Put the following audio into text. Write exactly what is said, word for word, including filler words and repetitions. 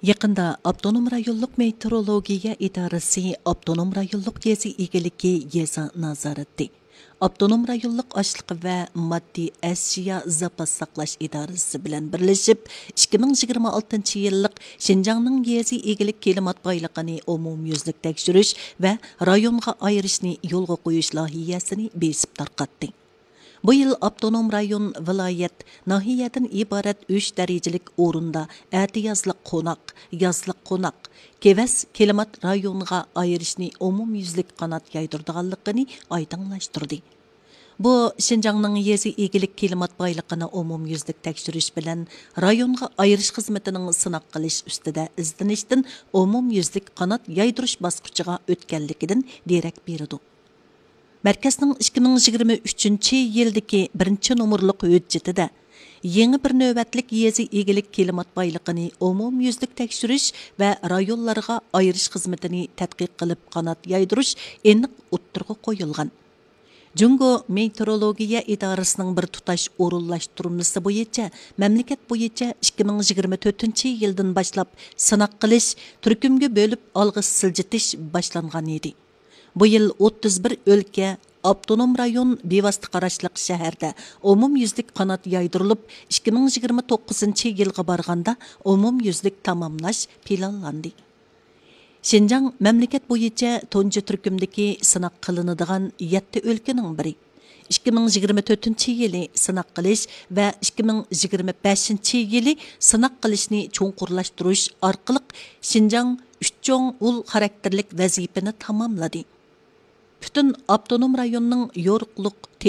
يېقىندا ئاپتونوم رايونلۇق مېتېئورولوگىيە ئىدارىسى ئاپتونوم رايونلۇق يېزا ئىگىلىكى يېزا نازارىتى، ئاپتونوم رايونلۇق ئاشلىق ۋە ماددىي ئەشيا زاپاس ساقلاش ئىدارىسى بىلەن بىرلىشىپ، ئىككى مىڭ يىگىرمە ئالتىنچى يىللىق شىنجاڭنىڭ يېزا ئىگىلىك كىلىمات بايلىقىنى ئومۇميۈزلۈك تەكشۈرۈش ۋە رايونغا ئايرىشنى يولغا قويۇش لايىھەسىنى بېسىپ تارقاتتى. بۇ يىل ئاپتونوم رايون، ۋىلايەت، ناھىيەدىن ئىبارەت ئۈچ دەرىجىلىك ئورۇندا ئەتىيازلىق قوناق، يازلىق قوناق، كېۋەز كىلىمات رايونغا ئايرىشنى ئومۇميۈزلۈك قانات يايدۇرىدىغانلىقىنى ئايدىڭلاشتۇردى. بۇ، شىنجاڭنىڭ يېزا ئىگىلىك كىلىمات بايلىقىنى ئومۇميۈزلۈك تەكشۈرۈش بىلەن رايونغا ئايرىش خىزمىتىنىڭ سىناق قىلىش ئۈستىدە ئىزدىنىشتىن ئومۇميۈزلۈك قانات يايدۇرۇش باسقۇچىغا ئۆتكەنلىكىدىن دېرەك بېرىدۇ. مەركەزنىڭ ئىككى مىڭ يىگىرمە ئۈچىنچى يىلدىكى بىرىنچى نومۇرلۇق ھۆججىتىدە يېڭى بىر نۆۋەتلىك يېزا ئىگىلىك كىلىمات بايلىقىنى ئومۇميۈزلۈك تەكشۈرۈش ۋە رايونلارغا ئايرىش خىزمىتىنى تەتقىق قىلىپ قانات يايدۇرۇش ئېنىق ئوتتۇرىغا قويۇلغان. جۇڭگو مېتېئورولوگىيە ئىدارىسىنىڭ بىر تۇتاش ئورۇنلاشتۇرمىسى بويىچە مەملىكەت بويىچە ئىككى مىڭ يىگىرمە تۆتىنچى يىلدىن باشلاپ سىناق قىلىش، تۈركۈمگە بۆلۈپ ئالغا سىلجىتىش باشلانغان ئىدى. بۇ يىل ئوتتۇز بىر ئۆلكە، ئاپتونوم رايون، بىۋاسىتە قاراشلىق شەھەردە ئومۇميۈزلۈك قانات يايدۇرۇلۇپ، ئىككى مىڭ يىگىرمە توققۇزىنچى يىلغا بارغاندا ئومۇميۈزلۈك تاماملاش پىلانلاندى. شىنجاڭ مەملىكەت بويىچە تۇنجى تۈركۈمدىكى سىناق قىلىنىدىغان يەتتە ئۆلكىنىڭ بىرى. ئىككى مىڭ يىگىرمە تۆتىنچى يىلى سىناق قىلىش ۋە ئىككى مىڭ يىگىرمە بەشىنچى يىلى سىناق قىلىشنى چوڭقۇرلاشتۇرۇش ئارقىلىق شىنجاڭ ئۈچ چوڭ ئۇل خاراكتېرلىك ۋەزىپىنى تاماملىدى. پۈتۈن ئاپتونوم رايوننىڭ يورۇقلۇق،